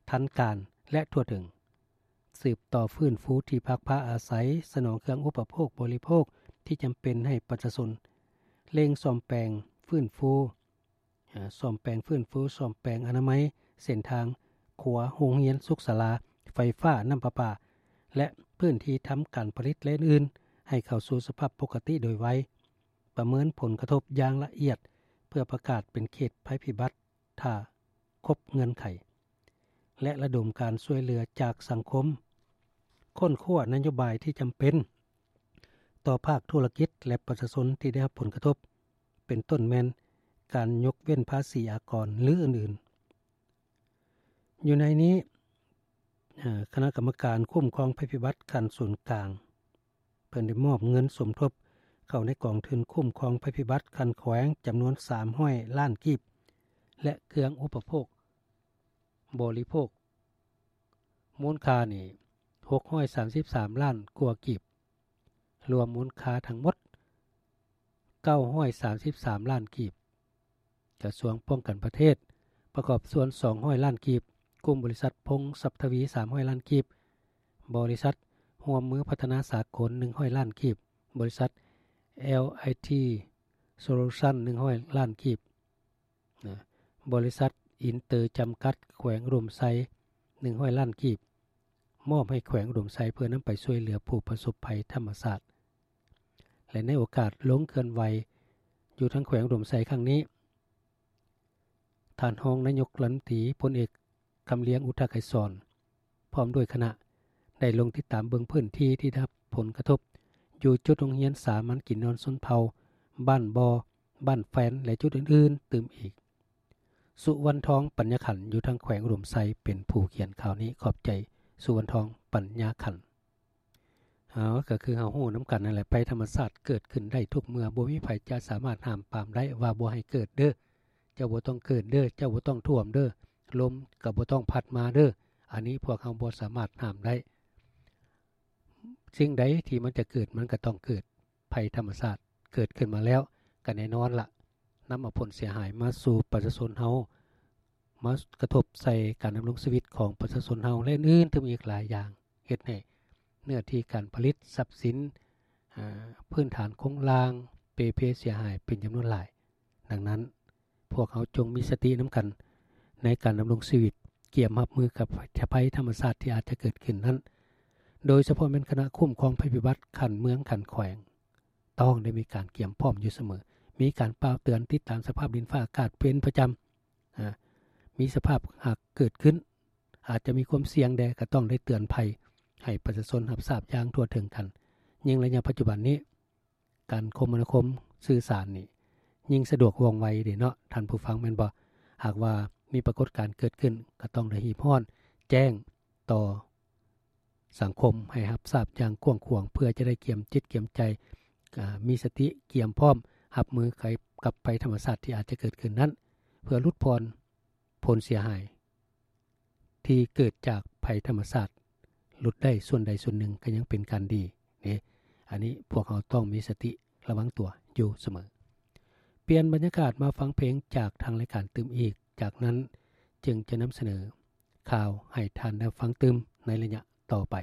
ທັນການ ແລະ ທົ່ວເຖິງ. ສືບຕໍ່ຟື້ນຟູທີ່ພັກພາອາໄສ, ສະໜອງເຄື່ອງອຸປະໂພກບໍລິໂພກທີ່ຈຳເປັນໃຫ້ປະຊາຊົນ, ເລັ່ງສ້ອມແປງຟື້ນຟູ, ເອີ່, ສ້ອມແປງຟື້ນຟູ, ສ້ອມແປງອະນາໄມ, ເສັ້ນທາງ, ຂົວ, ໂຮງຮຽນ, ສຸກສາລາ, ໄຟຟ້າ, ນ້ຳປະປາ ແລະ ພື້ນທີ່ທຳການຜະລິດ ແລະ ອື່ນໆ ໃຫ້ເຂົ້າສູ່ສະພາບປົກກະຕິໂດຍໄວ. ປະເມີນຜົນກະທົບຢ່າງລະອຽດ ເພື່ອປະກາດເປັນເຂດໄພພິບັດ ຖ້າຄົບເງື່ອນໄຂ ແລະ ລະດົມການຊ່ວຍເຫຼືອຈາກສັງຄົມ, ຄົ້ນຄວ້ານະໂຍບາຍທີ່ຈຳເປັນຕໍ່ພາກທຸລະກິດ ແລະ ປະຊາຊົນທີ່ໄດ້ຮັບຜົນກະທົບ, ເປັນຕົ້ນແມ່ນການຍົກເວັ້ນພາສີອາກອນ ຫຼື ອື່ນໆ. ຢູ່ໃນນີ້, ເອີ່, ຄະນະກຳມະການຄຸ້ມຄອງໄພພິບັດຂັ້ນສູນກາງ ເພິ່ນໄດ້ມອບເງິນສົມທົບເຂົ້າໃນກອງທຶນຄຸ້ມຄອງໄພພິບັດຂັ້ນແຂວງຈຳນວນສາມຮ້ອຍລ້ານກີບ ແລະ ເຄື່ອງອຸປະໂພກບໍລິໂພກ ມູນຄ່ານີ້ຫົກຮ້ອຍສາມສິບສາມລ້ານກວ່າກີບ, ລວມມູນຄ່າທັງໝົດເກົ້າຮ້ອຍສາມສິບສາມລ້ານກີບ. ກະຊວງປ້ອງກັນປະເທດ ປະກອບສ່ວນສອງຮ້ອຍລ້ານກີບ, ກຸ່ມບໍລິສັດພົງຊັບທະວີສາມຮ້ອຍລ້ານກີບ, ບໍລິສັດຮ່ວມມືພັດທະນາສາກົນໜຶ່ງຮ້ອຍລ້ານກີບ, ບໍລິສັດ ແອລໄອທີ ໂຊລູຊັນ ໜຶ່ງຮ້ອຍລ້ານກີບ, ນະ, ບໍລິສັດອິນເຕີຈຳກັດ ແຂວງອຸດົມໄຊ ໜຶ່ງຮ້ອຍລ້ານກີບ, ມອບໃຫ້ແຂວງອຸດົມໄຊເພື່ອນຳໄປຊ່ວຍເຫຼືອຜູ້ປະສົບໄພທຳມະຊາດ. ແລະ ໃນໂອກາດລົງເຄື່ອນໄຫວຢູ່ທາງແຂວງອຸດົມໄຊຄັ້ງນີ້, ທ່ານຮອງນາຍົກລັດຖະມົນຕີ ພົນເອກ ຄຳລຽງ ອຸດທະໄກສອນ ພ້ອມດ້ວຍຄະນະ ໄດ້ລົງຕິດຕາມເບິ່ງພື້ນທີ່ທີ່ໄດ້ຮັບຜົນກະທົບ ຢູ່ຈຸດໂຮງຮຽນສາມັນກິນນອນຊົນເຜົ່າ ບ້ານບໍ່, ບ້ານແຟນ ແລະ ຈຸດອື່ນໆຕື່ມອີກ. ສຸວັນທອງ ປັນຍາຂັນ ຢູ່ທາງແຂວງອຸດົມໄຊ ເປັນຜູ້ຂຽນຂ່າວນີ້. ຂອບໃຈ ສຸວັນທອງ ປັນຍາຂັນ. ເຮົາ ກໍຄືເຮົາຮູ້ນຳກັນນັ້ນແຫຼະ, ໄພທຳມະຊາດເກີດຂຶ້ນໄດ້ທຸກເມື່ອ, ບໍ່ມີໃຜຈະສາມາດຫ້າມປາມໄດ້ວ່າບໍ່ໃຫ້ເກີດເດີ້, ເຈົ້າບໍ່ຕ້ອງເກີດເດີ້, ເຈົ້າບໍ່ຕ້ອງຖ້ວມເດີ້, ລົມກໍບໍ່ຕ້ອງພັດມາເດີ້. ອັນນີ້ພວກເຮົາບໍ່ສາມາດຫ້າມໄດ້. ສິ່ງໃດທີ່ມັນຈະເກີດ, ມັນກໍຕ້ອງເກີດ. ໄພທຳມະຊາດເກີດຂຶ້ນມາແລ້ວ, ກໍແນ່ນອນລະ, ນຳເອົາຜົນເສຍຫາຍມາສູ່ປະຊາຊົນເຮົາ, ມາກະທົບໃສ່ການດຳລົງຊີວິດຂອງປະຊາຊົນເຮົາ ແລະ ອື່ນໆຕື່ມອີກຫຼາຍຢ່າງ, ເຮັດໃຫ້ເນື້ອທີ່ການຜະລິດ, ຊັບສິນ, ອາ, ພື້ນຖານໂຄງລ່າງເປ່ເພເສຍຫາຍເປັນຈຳນວນຫຼາຍ. ດັ່ງນັ້ນ, ພວກເຮົາຈົ່ງມີສະຕິນຳກັນໃນການດຳລົງຊີວິດ, ກຽມຮັບມືກັບໄພທຳມະຊາດທີ່ອາດຈະເກີດຂຶ້ນນັ້ນ, ໂດຍສະເພາະແມ່ນຄະນະຄຸ້ມຄອງໄພພິບັດຂັ້ນເມືອງ, ຂັ້ນແຂວງ. ຕ້ອງໄດ້ມີການກຽມພ້ອມຢູ່ສະເໝີ, ມີການປ່າວເຕືອນ, ຕິດຕາມສະພາບດິນຟ້າອາກາດເປັນປະຈຳ. ອາ, ມີສະພາບຫາກເກີດຂຶ້ນ, ອາດຈະມີຄວາມສ່ຽງແດ່, ກໍຕ້ອງໄດ້ເຕືອນໄພໃຫ້ປະຊາຊົນຮັບຊາບຢ່າງທົ່ວເຖິງກັນ. ຍິ່ງໄລຍະປັດຈຸບັນນີ້, ການຄົມມະນາຄົມສື່ສານນີ້ ຍິ່ງສະດວກວ່ອງໄວເດ້ເນາະ ທ່ານຜູ້ຟັງ, ແມ່ນບໍ່? ຫາກວ່າມີປາກົດການເກີດຂຶ້ນ, ກໍຕ້ອງໄດ້ຮີບຮ້ອນແຈ້ງຕໍ່ ສັງຄົມໃຫ້ຮັບຊາບຢ່າງກວ້າງຂວາງ ເພື່ອຈະໄດ້ກຽມຈິດກຽມໃຈ, ອາ, ມີສະຕິກຽມພ້ອມຮັບມືກັບໄພທຳມະຊາດທີ່ອາດຈະເກີດຂຶ້ນນັ້ນ, ເພື່ອຫຼຸດຜ່ອນຜົນເສຍຫາຍທີ່ເກີດຈາກໄພທຳມະຊາດ, ຫຼຸດໄດ້ສ່ວນໃດສ່ວນໜຶ່ງກໍຍັງເປັນການດີເດ້. ອັນນີ້ພວກເຮົາຕ້ອງມີສະຕິລະວັງຕົວຢູ່ສະເໝີ. ປ່ຽນບັນຍາກາດມາຟັງເພງຈາກທາງລາຍການຕື່ມອີກ, ຈາກນັ້ນຈຶ່ງຈະນຳສະເໜີ ຂ່າວໃຫ້ທ່ານໄດ້ຟັງຕື່ມໃນໄລຍະຕໍ່ໄປ.